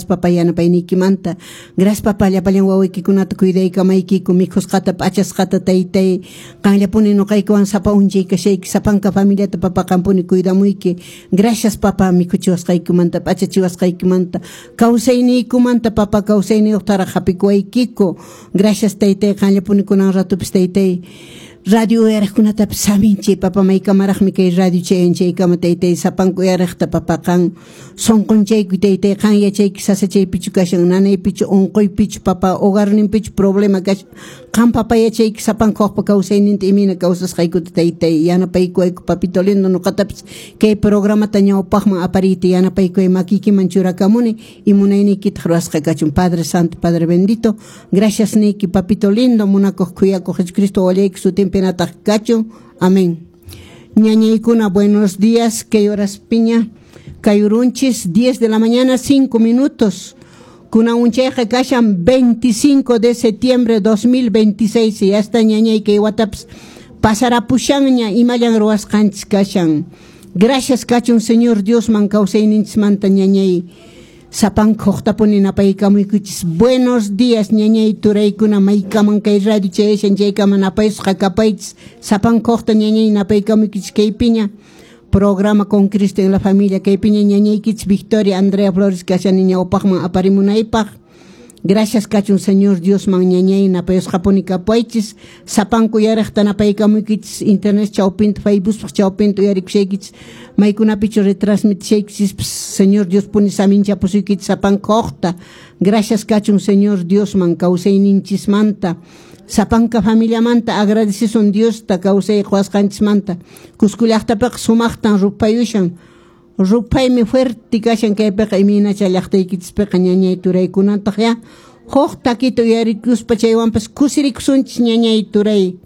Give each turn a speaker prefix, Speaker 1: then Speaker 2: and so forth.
Speaker 1: Gracias, papá, yanapayniykimanta. Gracias, papá, llapallan wawaykikunata cuidaykamaykiku, mikhusqata, p'achasqata, taytay. Qanllapuni nuqaykuwan sapa unchay kashayki, sapanka familiata, papá, qampuni cuidamuyki. Gracias, papá, mikhuchiwasqaykumanta, p'achachiwasqaykimanta, kawsayniykumanta, papá, kawsayniyuqtaraq hapikuwaykiku. Gracias, taytay, qanllapuni kunan ratupis, taytay. Radio uyariqkunatapis saminchi, papa, maykamaraqmi kay radio chayan chaykama, taytay, sapanka uyariqta, papa, qan sunqunchayku, taytay, qan yachayki sasachaypichu kashan, nanaypichu, unquypichu, papa, hogarninpichu problema kashan. Qan, papa, yachayki sapanka waqpa kawsayninta imayna kawsasqaykuta, taytay, yanapaykuwayku, papito lindo, nuqatapis kay programata ñawpaqman apariyta yanapaykuway, makiykiman churakamuni y munayniykitaq ruwasqa kachun. Padre Santo, Padre bendito, gracias niyki, papito lindo, munakuq khuyakuq Jesucristo wallayki sutinpinataq kachun. Amén. Ñañaykuna, buenos días. Kay horaspiña kayurunchis, 10 de la mañana 5 minutos. Kunan unchayqa kashan 25 de septiembre 2026. Ya está, ñañay, kay watapis pasarapushanña, imallan ruwasqanchis kashan. Gracias kachun Señor Diosman kawsayninchismanta, ñañay. Sapanka huqtapuni napaykamuykuchis. Buenos días, ñañay, turaykuna, maykaman kay radio chayashan chaykaman napayusqa kapaychis. Sapanka huqta, ñañay, napaykamuykuchis kaypiña. Programa Con Cristo en la Familia, kaypiña ñañaykichis Victoria Andrea Flores kashani ñawpaqman aparimunaypaq. Gracias kachun Señor Diosman, ñañay, napayusqapuni kapaychis. Sapanku uyariqta napaykamuykichis internet chawpinta, Facebookpaq chawpinta uyarikushaykichis, maykunapichu retransmitishaykichis, Señor Dios puni saminchapusuykichis sapanka huqta. Gracias kachun Señor Diosman kawsayninchismanta. Sapanka familiamanta agradecesun Diosta kawsay quwasqanchismanta. Cusco llaqtapiqa sumaqtan ruphayushan. Ruphaymi fuerte kashan kaypiqa, imaynacha llaqtaykichispiqa, ñañay, turaykunataq? Ya huk takita uyarikuspa chaywanpas kusirikusunchis, ñañay, turay.